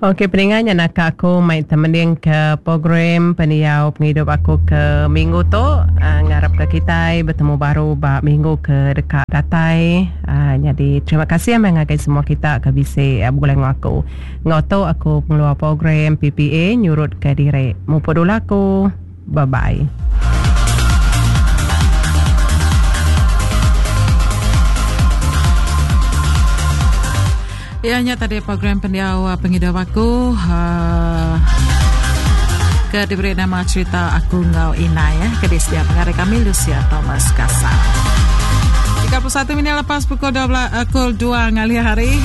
Okey peninga nya naka aku mai temending ke program pendiau pengidup aku ke minggu tu ngarap ke kitai betemu baru ba minggu ke deka datai nyadi terima kasih meh ngagai semua kita ke bisi begulai enggau aku. Enggau tu aku pengeluar program PPA nyurut ke diri. Mupuk dulu aku. Bye bye. Ya nya tadi program pendiau uh, pengidup aku uh, ke diberi nama cerita aku enggau Inai ya ke disedia pengari kami Lucia Thomas Kasa. 31 minit lepas pukul 12 uh, pukul 2 ngalih hari.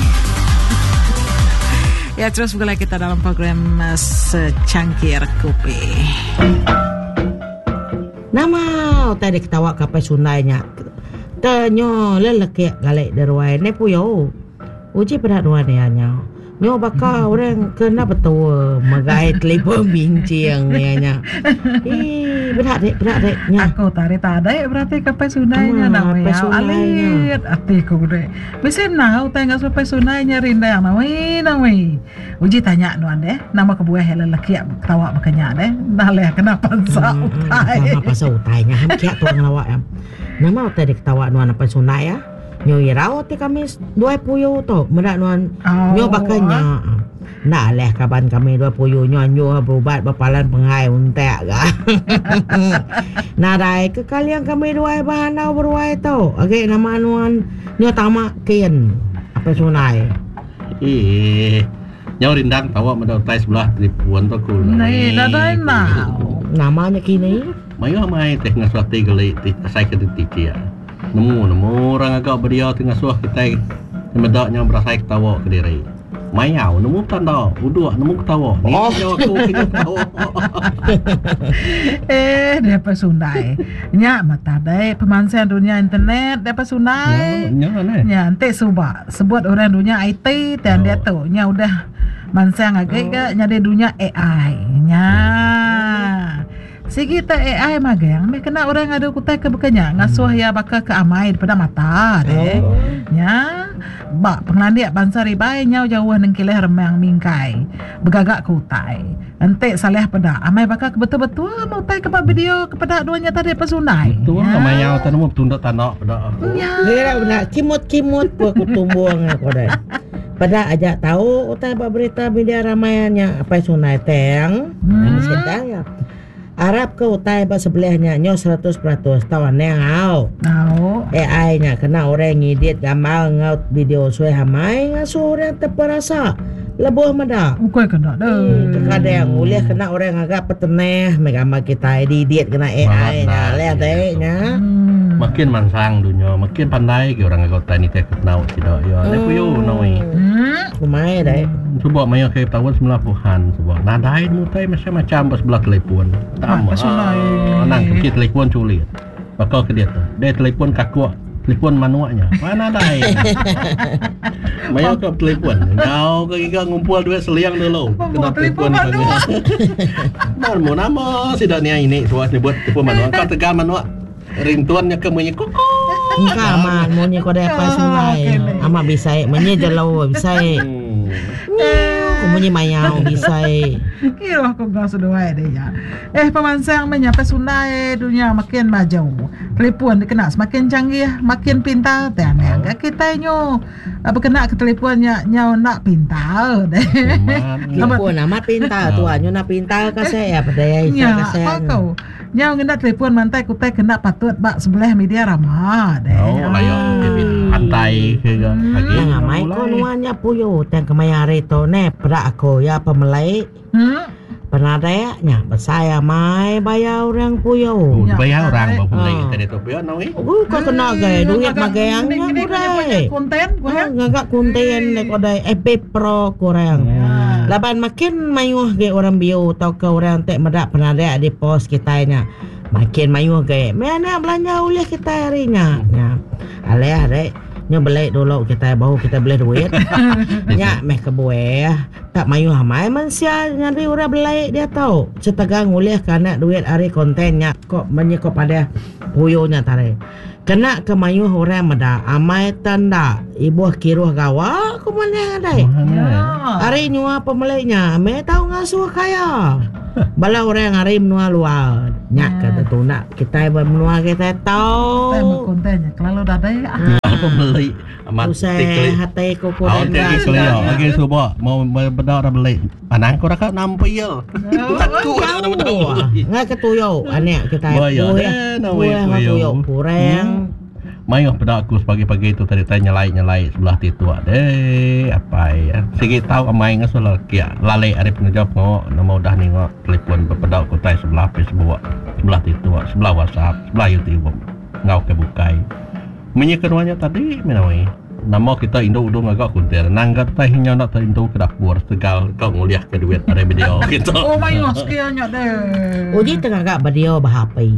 Ya terus bergulai kita dalam program uh, secangkir kopi. Nama utai diketawa ke apai Sundai nya te nyo lelekik gali deruai ne puyo. Uji peda nuan iya nya. Nyo baka orang ke enda betul megai telefon binching iya nya. Ii peda dek peda dek nya. Aku tadi tadi berarti ke apai Sundai nya nama ya. Alit ati ku dek. Bisi enggau utai enggau sepai sunai nya rindang nawi nawi. Uji tanya nuan deh, nama kebuah iya lelaki ketawa baka nya deh. Enda leh kena pansa utai. Nama pasal utai nya ham kiak tuang lawa ya. Nama utai diketawa nuan apai sunai ya. Nyu irau ti kami duai puyu tu meda nuan nyu baka nya. Enda alih kaban kami dua puyu nyu anjuh berubat ba palan pengai untak ga. Nadai ke kaling kami duai ba handau beruai tu agi nama nuan nyu tama kin apai sunai. Eeh nyau rindang tawa meda utai sebelah telefon tu aku. Nei nadai enggau. Nama nya kini. Mayuh amai teh ngasuh ati geli ti asai ke ditikik. Nemu nemu orang ngaga bedia ti ngasuh kitai meda nyau berasai ketawa kediri. Mayau nemu betanda, uduk nemu ketawa. Ni oh. Nyau aku kena ketawa. eh, dia apa sundai. Nya mata dai pemansang dunia internet dia apa sundai. Nya nya. Nya enti suba sebut orang dunia IT tan oh. dia tu nya udah mansang agi ke nyadi dunia AI. Nya. Sigi te AI magang meh kena orang ngadu utai ke baka nya ngasuh iya baka ke amai daripada mata deh. Nya ba pengelandik bansa ribai nyau jauh nengkilih remang mingkai begaga ke utai. Enti salih peda amai baka ke betul-betul meh utai ke ba video ke peda dua nya tadi pasundai. Betul nya mayau te nemu betunda tanda peda aku. Nya. Ngira benda kimut-kimut pun aku tumbung aku deh. Peda aja tau utai ba berita media ramai nya apai sunai tang. Hmm. Sedang ya. Arap ke utai ba sebelah nya nyo 100% tau anang au. Au. AI nya kena orang ngedit gambar enggau video suai amai ngasuh orang terperasa lebuh meda. Ukai kena deh. Hmm, kekadang ulih kena orang ngaga petenah meh gambar kitai diedit kena AI nya leh te nya. Hmm. Makin mansang dunya, makin pandai ke orang ngaga utai nitih ke penau sida iya. Neh puyu noi. Hmm. Kumai deh. Suba maya ke taun semilan puluhan suba nadai nemu utai macam-macam ba sebelah telefon. Tama anang ke bisi telefon sulit. Baka ke diatu. Deh telefon kakuk, telefon manuk nya. Wah nadai. Maya ke betelefon nyau ke giga ngumpul duit seling dulu kena telefon panggil. Ba nemu nama sida nia ini suah nyebut telefon manuk. Engka tegal manuk ringtone nya ke munyi kukuk. Engka amat munyi ko deh apai sungai. Amat bisai munyi jelu bisai. Nyiu ko munyi mayau bisai. Kiruh ko enggau seduai deh nya. Eh pemansang meh nya apai sungai dunya makin maju. Telefon dikena semakin canggih makin pintar tang anang ga kitai nyu bekena ke telefon nya nyau enda pintar deh. Telefon amat pintar tuan nyu enda pintar kaseh iya pedeh Nya ko. Nyau ngena telefon mantai ke utai ke enda patut ba sebelah media rama deh. Oh, layak ke pantai ke ga agi. Nang amai ko nuan nya puyu tang kemaya hari tu neh peda aku iya pemelai. Penadak nya besai amai bayar orang puyu. Bayar orang ba pemelai kita ditu pia noi. Uh ka kena gai duit magang nya kudai. Ngaga konten kudai FB Pro ku orang. Laban makin mayuh agi orang biu tauka orang ti meda penadak di post kitai nya makin mayuh agi meh anak belanja ulih kitai ari nya. Nya alih ari nyu beli dulu kitai baru kitai bulih duit. Nya meh kebuah tak mayuh amai mensia nyadi orang beli diatu setegal ngulihka anak duit ari konten nya ko munyi ko padah puyu nya tadi. Kena ke mayuh orang meda amai te enda ibuh kiruh gawa ku manah deh. Ari nyua pemeli nya meh tau ngasuh kaya. Bala orang ari menua luar nya ke tetunda kitai ba menua kitai tau. Utai meh konten nya kelalu dadai ah. Pemeli amat Tusah hati ku ku Agi kelia agi suba mau beda orang beli. Anang ku raka nampil. Takut orang beda. Ngai ke tuyo anak kitai. Buih tuyo kurang. Mayuh peda aku sepagi-pagi tu tadi tai nyelai-nyelai sebelah ti tua deh apai. Sigi tau amai ngasuh lelaki lalik ari pengereja pengawa nama udah ninga telefon bepeda ke utai sebelah Facebook, sebelah ti tua, sebelah WhatsApp, sebelah YouTube enggau ke bukai. Munyi ke nuan nya tadi meh nawai. Nama kita indu udu ngaga kuntir nang ga tai nyau enda terindu ke dapur setegal ka ngulih ke duit ari video kita. Oh mayuh skill nya deh. Uji te ngaga video ba HP.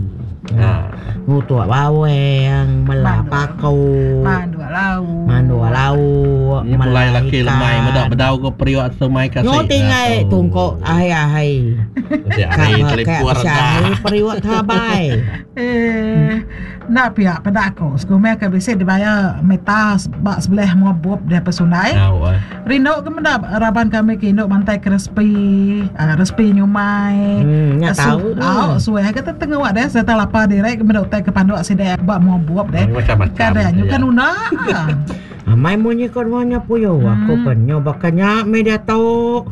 Ha. Ngutuk bawang, mela paku. Manduk lauk. Manduk lauk, Ni mela pulai laki lemai meda ikan. bedau ko periuk sumai kasih. Nyu tinggai tungkok ahi-ahi. Bisi Ka hari ka telipur bisi dah. hari periuk terabai. Eh. Enda pia peda aku sekumbai ke bisi dibayar meta ba sebelah mua bup deh pesundai. Rindu ke meda raban kami ke indu mantai ke resipi uhh resipi nyumai. Hmm nya tau tu. Au suah ke tenguk deh sereta lapa diri ke meda utai ke panduk sida ba mua bup deh. Macam-macam. Kada nyukan unda. Amai munyi ko nuan nya puyu aku pen nyu baka nya meh diatu.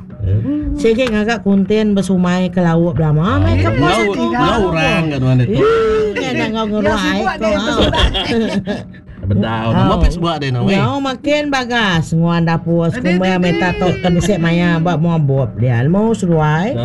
Sigi ngaga konten besumai ke lauk belama meh ke pos aku. Enggau orang ga nuan ditu. Nya enda enggau ngeruai ko. Bedau nama Facebook deh no weh. Nyau makin bagas nguan dapur sekumbai meta tu ke bisi maya ba mua bup dia nemu seduai.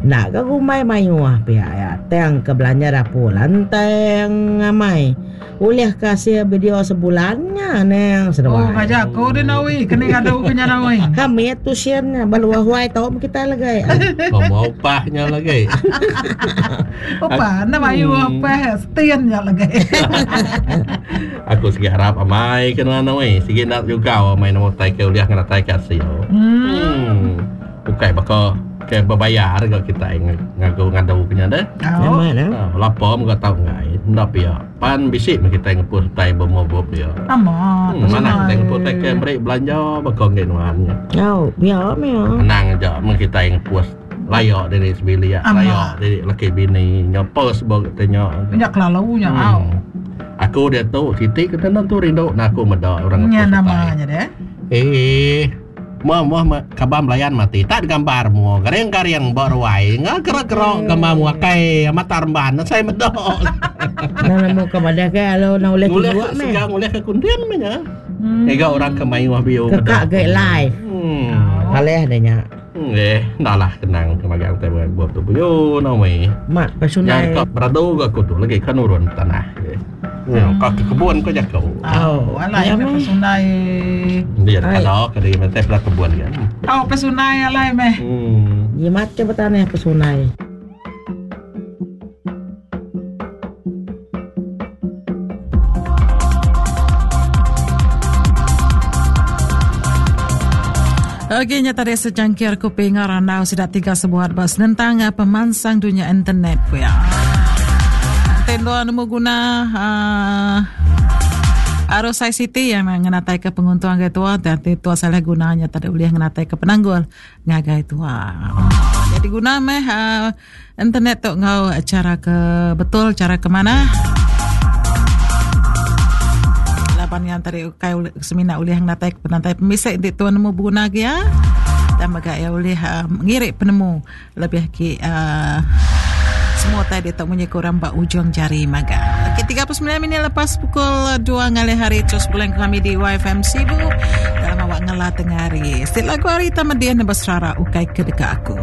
Enda ga gumbai mayuh pia iya tang ke belanja dapur lantang amai. Ulih ke asil video sebulan nya nang seduai. Oh ngajar aku deh nawi keni ngadu ke nya nawi. Ha mit tuition nya ba luar huai tau meh kitai legai. Komo upah nya lagi. Upah enda mayuh upah setin nya lagi. Aku sigi harap amai ke nuan nawi sigi enda jugau amai nama utai ke ulih ngenatai ke asil. Hmm. Ukai baka ke bebayar ga kitai ngagu ngadu ke nya deh. Amat eh. Lapa mega tau enggai. Enda pia. Pan bisi meh kitai ngepus utai bemobup dia. Amat. Hmm, manah kitai ngepus utai ke meri belanja baka enggai nuan nya. Au, pia meh. Anang aja meh kitai ngepus laya diri sebilik, laya diri laki bini ngepus ba kitai nya. Nya kelalu nya au. Aku diatu siti ke tentu rindu na aku meda orang ngepus Nya utai. nama nya deh. Eh. Mua muah me kaban belayan mati tak digambar mua garing-garing ba ruai enggau gerak-gerak gambar mua kai amat tak remban asai meda. Nang nemu ke madah ke lalu nang ulih Ngulih tinduk meh. segang ngulih ke kundin meh nya. Ngiga orang ke mayuh view Kekak meda. ge live. Hmm. Kalih deh nya. Eh, enda lah kenang ke magang tai bup tu puyu nawi. Mat Nya pesunai. ka beradu ga aku tu lagi ka nurun tanah. Hmm, ka ke kebun ko jaku. Oh, alai Ya meh meh. pesunai. Dia Ai. kada ke di mentai peda kebun kan. Oh, pesunai alai meh. Hmm. Jimat ke betanah pesunai. Okey nya tadi secangkir kopi enggau randau sida tiga sebuat ba senentang eh, pemansang dunya internet ku ya. Enti endur nemu guna uh, arus ICT yang ngenatai ke penguntung ngagai tua tapi tua salah guna nya tadi ulih ngenatai ke penanggul ngagai tua. Jadi guna meh uh, Internet tu enggau chara ke betul, chara ke manah. Laban yang tadi ukai semina ulih ngenatai ke penantai pemisi enti tuan nemu beguna agi ya. Dan mega iya ulih uh, ngirik penemu lebih agi uh, semua utai ditu munyi ke orang ba ujung jari maga. Okey, 39 minit lepas pukul 2 ngalih hari terus bulan kami di YFM Sibu dalam awak ngela tengah hari. Siti lagu hari tamadih nebas rara ukai ke deka aku.